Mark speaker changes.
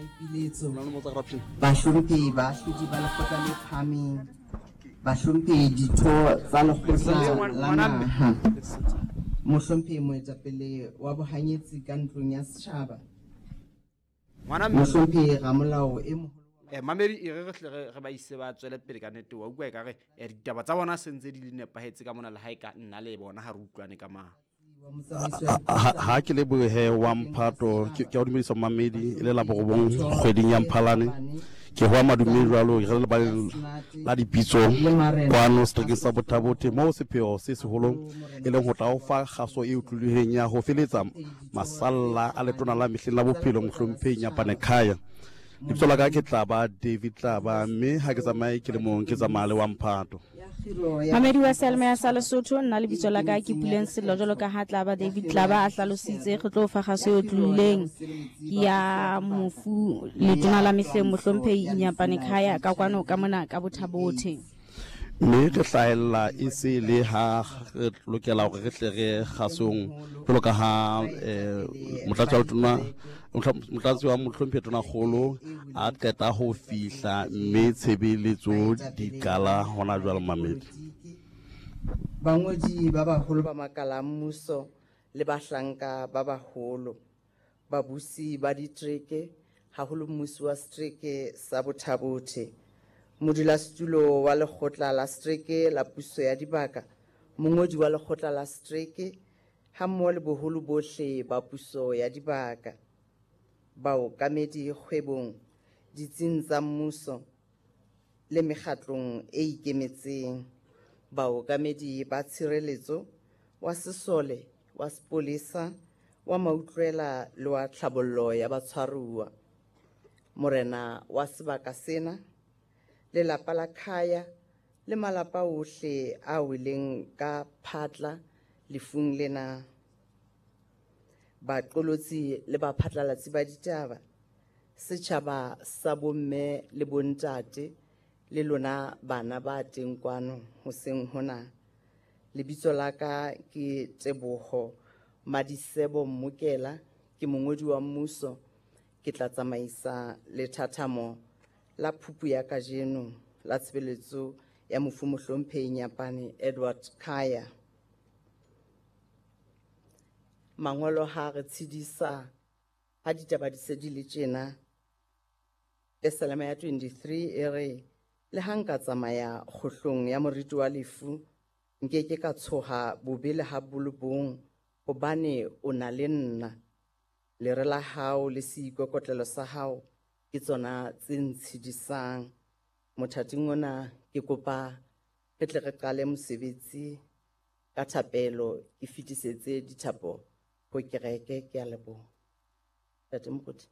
Speaker 1: Maipiletso, Bahlomphehi Baahlodi ba Lekgotla le Phahameng, Bahlomphehi Ditho tsa Lekgotla la Naha, Mohlomphehi Moetapele wa Bohanyetsi ka Ntlong ya Setjhaba, Mohlomphehi Ramolao e Moholo wa.
Speaker 2: Eh, mamedi e re re hle re ba ise ba tswele pele ka nete wa utlwa ekare eh, ditaba tsa bona se ntse di le nepahetse ka mona le ha e ka nna le bona ha re utlwane ka mang.
Speaker 3: Ha ke lebohe wa mphato ke a o dumedisa mamedi e le la borobong kgweding ya mphalane ke hoa madume jwalo re le ba la dipitso kwano seterekeng sa bothabothe moo sepheo se seholo e leng ho tla o fa kgaso e utlwilweng ya ho feletsa masalla a letona la mehleng la bophelo mohlomphehi Nyapane Khaya. Lebitso la ka ke Tlaba David Tlaba mme ha ke tsamaye ke le mong ke tsamaya le wa mphato.
Speaker 4: Mamedi wa Selma sa Lesotho, nna lebitso la ka ke Puleng Sello jwalo ka ha Tlaba David Tlaba a hlalositse re tlo fa kgaso e otlolileng ya mofu letona la mehleng mohlomphehi Inyapane Khaya ka kwano ka mona ka Bothabothe.
Speaker 3: Mme re hlahella e se le ha re lokela hore re tle re kgasong jwalo ka ha um motlatsi wa letona motlatsi wa mohlomphehi tonakgolo a qeta ho fihla mme tshebeletso di qala hona jwale mamedi.
Speaker 1: Bangodi ba baholo ba makala a mmuso le bahlanka ba baholo, babusi ba ditereke, haholo mmusi wa setereke sa Bothabothe, modulasetulo wa lekgotla la setereke la puso ya dibaka, mongodi wa lekgotla la setereke, hammoho le boholo bohle ba puso ya dibaka, baokamedi kgwebong, ditsing tsa mmuso le mekgatlong e ikemetseng, baokamedi ba tshireletso, wa sesole, wa sepolesa, wa mautlwela le wa tlhabollo ya batshwaruwa, morena wa sebaka sena, lelapa la Khaya le malapa ohle a weleng ka phatla lefung lena. Baqolotsi le baphatlalatsi ba ditaba, setjhaba sa bomme le bontate le lona bana ba teng kwano hoseng hona. Lebitso la ka ke Teboho Madisebo Mmokela, ke mongodi wa mmuso, ke tla tsamaisa lethathamo la phupu ya kajeno la tshebeletso ya mofu mohlomphehi Nyapane Edward Khaya. Mangolo ha re tshedisa ha ditaba di se di le tjena. Pesalema ya 23 e re, Le ha nka tsamaya kgohlong ya moriti wa lefu, nke ke ka tshoha bobe le ha bo le bong, hobane o na le nna. Lere la hao le seikokotlelo sa hao ke tsona tse ntshedisang. Mothating ona ke kopa re tle re qale mosebetsi ka thapelo, ke fetisetse dithapo ho kereke. Ke a leboha. Ntate Moruti.